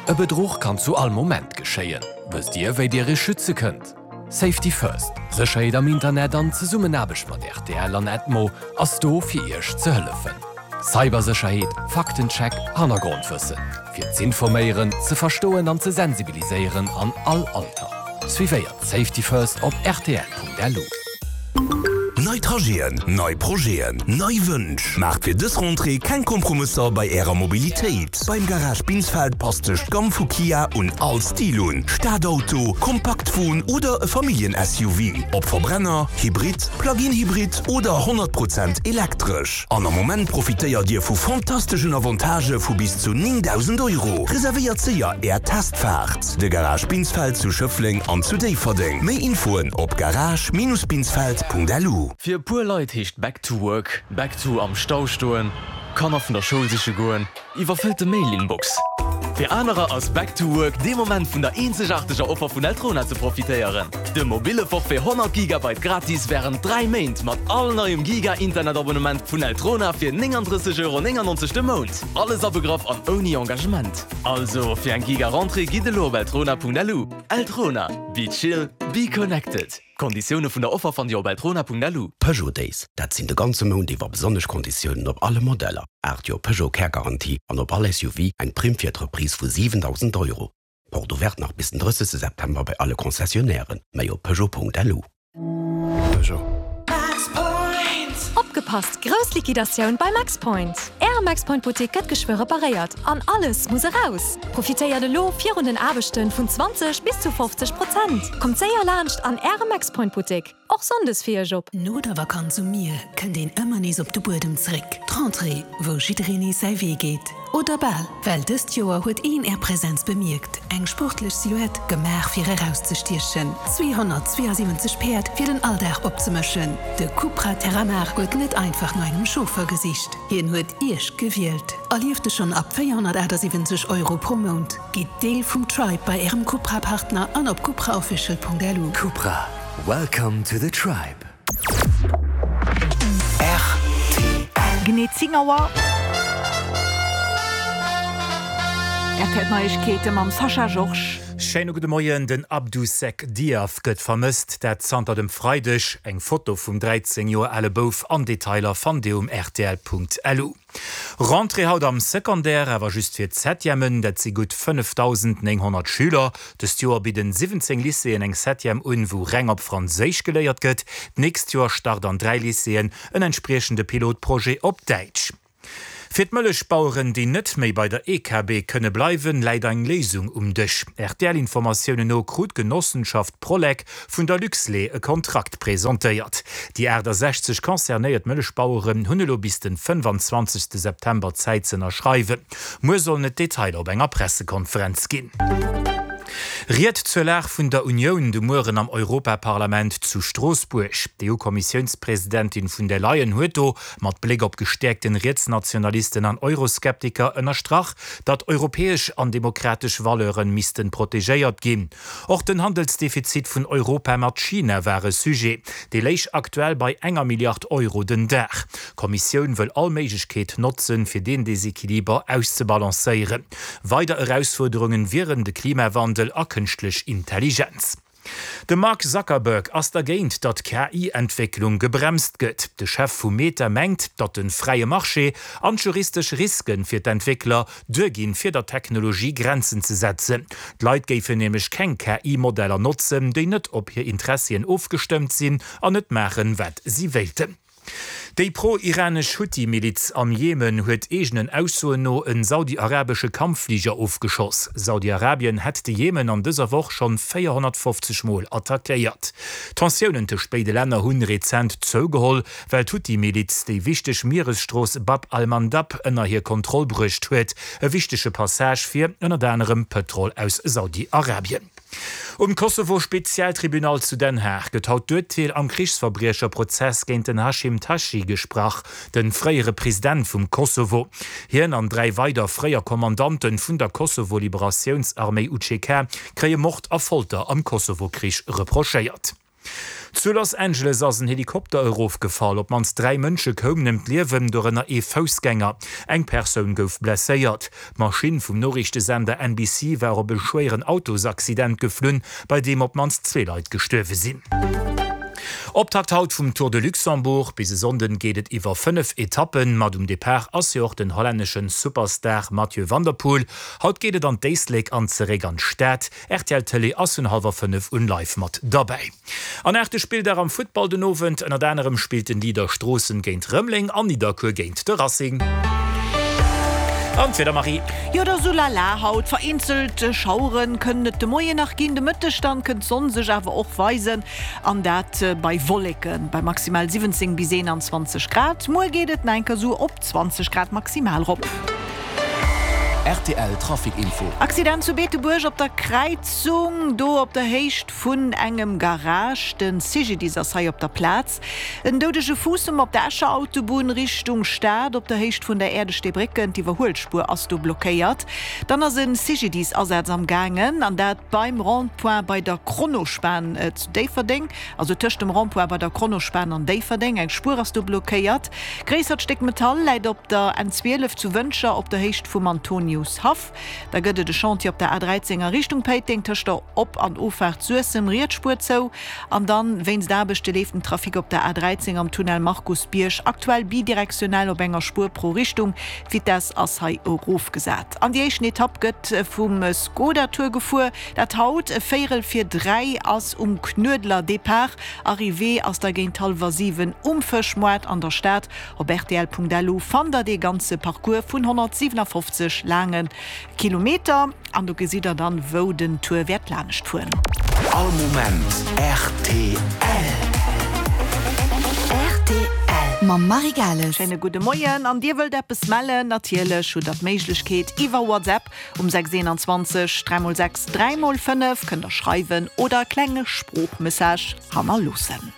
E Bedruch kann zu all Moment geschéien. Wësst Dir, wéi Dir Iech schütze kënnt? Safety First, Sécherheet am Internet an Zesummenaarbecht mat rtl an Edmo ass do fir Iech ze hëllefen. Cybersécherheet, Faktencheck, Hannergrondwëssen. Fir z'informéieren, ze verstoen an ze sensibiliséieren an all Alter. Suivéiert Safety First op rtl.lu. Nei Trajeten, nei Projeten, nei Wënsch. Maacht fir dës Rentrée keng Kompromësser bei Ärer Mobilitéit. Beim Garage Binsfeld passt sech d'Gamm vu Kia un all Stil un, Stadauto, Kompaktwon oder e Familljen-SUV. Ob Verbrenner, Hybrid, Plug-in-Hybrid oder 100 Prozent elektresch. An am Moment profitéiert Dir vu fantasteschen Avantagë vu bis zu 9.000 Euro. Reservéiert séier Är Testfaart! De Garage Binsfeld zu Schëffleng an zu Déifferdeng. Méi Infoen op garage-binsfeld.lu. Fir e puer Leit heescht Back to work, back to am Stau stoen, Kanner vun der Schoul siche goen, Iwwerfëllte Mail-Inbox. Fir anerer ass Back to Work dee Moment vun der eenzegaarteger Offer vun Eltrona ze profitéieren. De mobille Forfait 100 Gigabyte gratis wärend 3 Méint mat all neiem Giga-Internet-Abonnement vun Eltrona fir 39,99 Euro de Mount. Alles abegraff an ouni Engagement. Also fir eng Giga-Rentrée gitt elo op eltrona.lu. Eltrona, be chill, be connected. D'Konditioune vun der Offer fannt Dir op eltrona.lu. Peugeot Days, dat sinn de ganze Mount iwwer besonnesch Konditiounen op alle Modeller, 8 Joer Peugeot Kärgarantie an op all SUV eng Primm fir d'Reprise vu 7.000 Euro. Porte ouverte nach bis den 30 September bei alle Concessionnairen, méi op peugeot.lu. Peugeot. Opgepasst! Grouss Liquidatioun bei Maxpoint! Äre Maxpoint Buttek gëtt geschwë reparéiert an alles muss eraus! Profitéiert elo virun den Aarbechten vun 20 bis zu 50 Prozent! Kommt séier laanscht an Äre Maxpoint Buttek, och Sonndes fir Iech op! No der Vakanz um Mier kënnt een ëmmer nees op de Buedem zréck. D'Rentrée, wou jiddereen nees säi Wee geet. Oder bal. Well dëst Joer huet een Är Präsenz bemierkt. Eng sportlech Silhouette, gemaach fir erauszestiechen. 272 Päerd fir den Alldag opzemëschen. De Cupra Terramar huet net einfach no engem Chauffer gesicht. Hien huet Iech gewielt. Erlieft e schonn ab 478 Euro pro Mount. Gitt Deel vum Tribe bei Ärem Cupra-Partner an op cupraofficial.lu. Cupra, welcome to the tribe. Genee 10 Auer. RTL Neiegkeete mam Sascha Georges. Schéine gudde Moien. Den Abdou Seck Diaf gëtt vermësst, dat zanter dem Freideg. Eng Foto vum 13 Joer ale Bouf an Detailer fannt Dir um rtl.lu. Rentrée haut am Secondaire, awer just fir d'Septièmen, dat si gutt 5.900 Schüler. Dëst Joer bidden 17 Lycéeën eng Septième un, wou reng op Franséisch geléiert gëtt. D'nächst Joer start an 3 Lycéeën en entspriechende Pilotprojet op Däitsch. Fir d'Mëllechbaueren, déi net méi bei der EKB kënne bleiwen, läit eng Léisung um Dësch. RTL-Informatiounen no krut d'Genossenschaft Prolec vun der Luxlait e Kontrakt presentéiert. Déi 68 concernéiert Mëllechbaueren hunn elo bis den 25 September Zäit z'ënnerschreiwen. Muer sollen et Detailer op enger Pressekonferenz ginn. Ried zur Lag vun der Unioun de Mueren am Europaparlament zu Stroossbuerg. D'EU-Kommissiounspresidentin vun der Leyen huet do, mat Bléck op gestäerkten Rietsnationalisten an Euroskeptiker, ënnerstrach, datt europäesch an demokratesch Valeuren missten protegéiert ginn. Och den Handelsdefizit vun Europa mat China war e Sujet. Dee léich aktuell bei enger Milliard Euro den Dag. D'Kommissioun wëll all Méiglechkeet notzen, fir deen Desequiliber auszebalancéieren. Weider Erausfuerderungen wieren de Klimawandel a kënschtlech Intelligenz. De Mark Zuckerberg ass dergéint, datt d'KI-Entwécklung gebremst gëtt. De Chef vu Meta mengt, datt de fräie Marché an d'juristesch Riske fir d'Entwéckler duerginn, fir der Technologie Grenzen ze setzen. D'Leit géifen nämlech keng KI-Modeller notzen, déi net op hir Interessien ofgestëmmt sinn an net maachen, wat si wéilten. Déi pro-iranesch Huthi-Miliz am Jemen huet eegenen Aussoen no en saudi-arabesche Kampffliger ofgeschoss. Saudi-Arabien hätt de Jemen an dëser Woch schonn 450 Mol attackéiert. D'Tensiounen tëscht béide Länner hunn rezent zougeholl, well d'Huthi-Miliz déi wichteg Mieresstrooss Bab al-Mandab ënner hir Kontroll bruecht huet, e wichtege Passage fir ënnert anerem Pëtrol aus Saudi-Arabien. Um Kosovo-Spezialtribunal zu Den Haag gëtt haut d'Urteel am Krichsverbriecherprozess géint den Hashim Thaçi gesprach, de fréiere President vum Kosovo. Hien an 3 weider fréier Kommandante vun der Kosovo-Liberatiounsarméi UCK kréie Mord a Folter am Kosovo-Krich reprochéiert. Zu Los Angeles ass en Helikopter erofgefall. Op d'mannst 3 Mënsche koumen ëm d'Liewen, dorënner ee Foussgänger. Eng Persoun gouf blesséiert. D'Maschinn vum Noriichtesender NBC war op e schwéieren Autosaccident geflunn, bei deem op d'mannst zwee Leit gestuerwe sinn. Optakt haut vum Tour de Luxembourg. Bis e Sonnden geet et iwwer 5 Etappen. Mat um Depart ass jo och den hollännesche Superstar Mathieu van der Poel. Haut geet et an d'Éislek an zeréck an d'Stad. Rtl Tëlee ass vun hallwer 5 un live mat derbäi. An aachte Spilldag am Futtball den Owend. Ënnert anerem spillt den Leader Stroossen géint Rëmeleng an Nidderkuer géint de Racing. An d'Wieder, Marie? Jo, et ass sou lala haut. Vereenzelt Schauere kënnen et de Moien nach ginn, de Mëtteg dann kënnt d'Sonn sech awer och weisen an dat bei Wolleken bei maximal 17 bis 21 Grad. Muer geet et nach eng Kéier sou op 20 Grad maximal rop. Rtl Trafic Info. Accident zu Beetebuerg op der Kräizung, do op der Héicht vun engem Garage. De CGDIS ass hei op der Plaz. En doudege Fuussem op der Escher Autobunn Richtung Stad op der Héicht vun der Äerdesteebrécken. D'Iwwerhuelspuer ass do blockéiert. Dann ass e CGDIS-Asaz am gaangen an dat beim Rond-point bei der Kronospan zu Déifferdeng, also tëscht dem Rond-point bei der Kronospan an Déifferdeng. Eng Spuer ass do blockéiert. Gréissert Stéck Metall läit op der N 12 zu Wëntger op der Héicht vum Antoniushaff. Da gëtt et e Chantier op der A 13 a Richtung Péiteng tëscht der Op an Offaart Suessem, riets Spuer zou. An dann wéinst Aarbechte leeft den Trafic op der A 13 am Tunnel Markusbierg aktuell bidirektionell op enger Spuer pro Richtung. D'Vitess ass hei erofgesat. An déi éischten Etapp gëtt vum Skoda Tour gefuer, dat haut e Véierel vir 3 ass um Knuedler Depart. Arrivée ass da géint hallwer 7 um Fëschmoart an der Stad. Op rtl.lu fannt der dee ganze Parcours vun 157 laange Kilometer an do gesitt der dann wou den Tour wäert laanescht fueren. All Moment rtl. Rtl mam Marie Gales. Schéine gudde Moien an dir wëllt eppes mellen? Natierlech hutt der d'Méiglechkeet iwwer WhatsApp um 6 21 3 x 6 3 x 5 kënnt der schreiwen oder e klenge Sproochmessage hannerloossen.